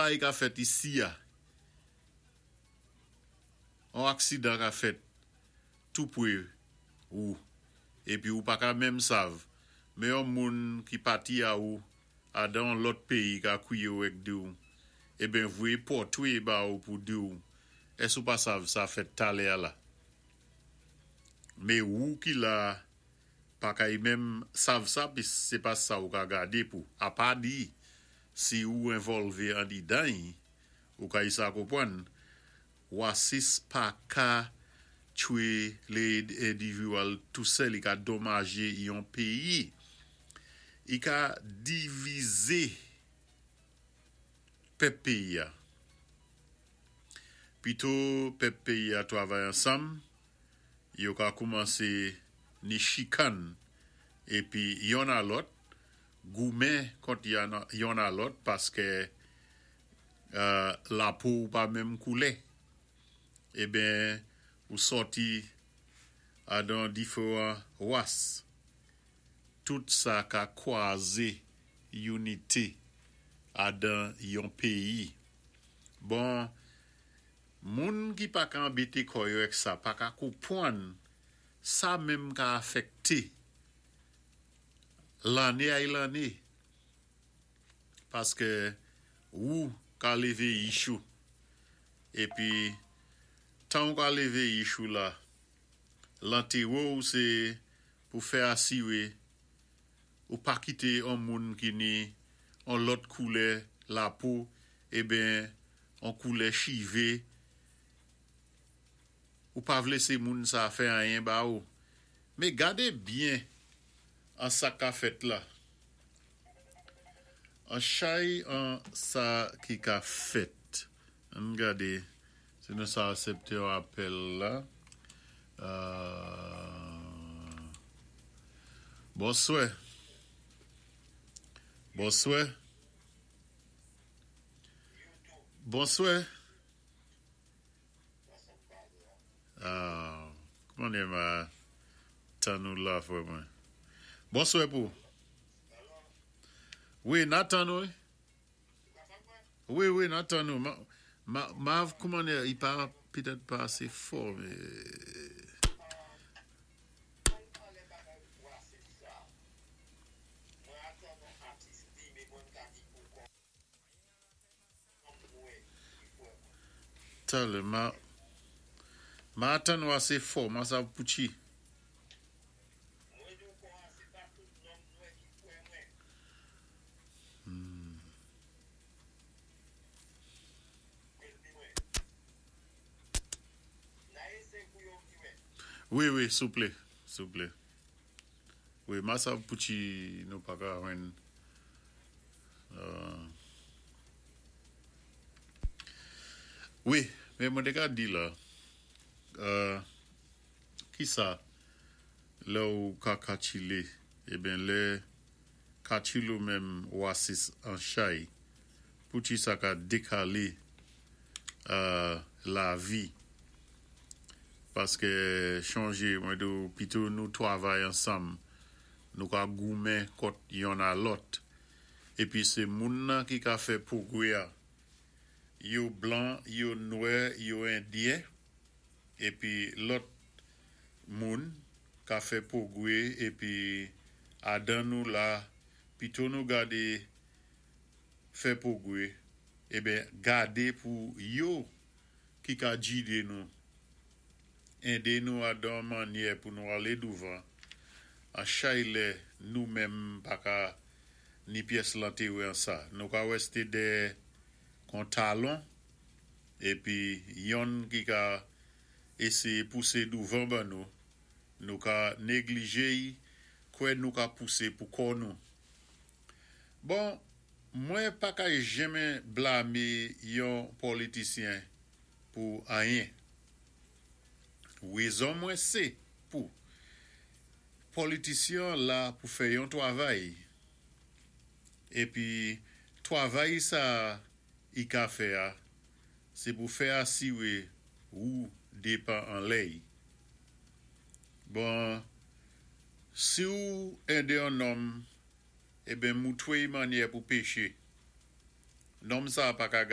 Bagay ka fèt isi a, on aksidan ka fèt tou pwé ou, épi ou pa ka menm sav, mé on moun ki pati a ou adan on lòt péyi ka kwiyé ou èk di-w, eben voyé pòtwé ba ou pou di-w, ès ou pa sav sa fèt talè a la? Mé ou ki la pa kay menm sav sa pis sé pa sa ou ka gadé pou, apa di si ou envòlvé andidan-y, ou kay sa konpwann. Wasis pa ka tchwé lé endiviwal tou sèl, i ka donmajé yon péyi. I ka divizé pèp péyi a. Pito pèp péyi a twavay ansanm, yo ka koumansé ni chikann épi yonn a lòt, goumen kont yonn a lòt paskè lapo ou pa menm koulè. Eben ou sòti adan diféwan ras. Tout sa ka kwazé inité adan yon péyi. Bon, moun ki pa ka anbété kò yo èk sa pa ka konpwann sa menm ka afèkté lanné ay lanné paskè ou ka lévé yich ou épi tan ou ka lévé yich ou la, lantéwé-w sé pou fè asiwé ou pa kité on moun ki ni on lòt koulè lapo eben on koulè chivé, ou pa vlé sé moun sa fè anyen ba ou. Mé gadé byen an sa ka fèt la. An chay an sa ki ka fèt. Ann gadé si nou sa asèpté yon apèl la. Bonswè. Bonswè. Bonswè. Kouman nou yé ma tann ou la frè mwen. Bonswè pou. Wi, na tann ou wi. Wi, wi, na tann ou. Ma, ma, kouman i pa petèt pa asé fò, mé. Talè, ma, ma atann ou asé fò, ma sav pouchi. Wi, wi, souplé, souplé. Wi, ma sav pouchi nou pa ka jwenn. Wi, mé mwen té ka di la, ki sa lè ou ka katchilé, eben lè katchil ou menm wasis an chay, pouchi sa ka dékalé lavi. Paskè chonjé mwen di ou pito nou twavay ansanm, nou ka goumen kont yonn a lòt. Épi sé moun nan ki ka fè pwogwé a. Yo blan, yo nwè, yo endyen, épi lòt moun ka fè pwogwé épi adan nou la pito nou gadé fè pwogwé eben gadé pou yo ki ka jidé nou, édé nou adan mannyè pou nou alé douvan an chay lè nou menm pa ka ni pyès lantéwé an sa. Nou ka wèsté dèyè kon talon épi yonn ki ka éséyé pousé douvan ban nou, nou ka néglijé-y kwè nou ka pousé pou kò nou. Bon, mwen pa kay jenmen blamé yon pòlitisyen pou anyen. Wézon mwen sé pou pòlitisyen la pou fè yon twavay épi twavay sa i ka fè a sé pou fè asiwé ou dépan anlè-y. Bon, si ou édé yon nonm eben moutwé-y mannyè pou péché, nonm sa pa ka.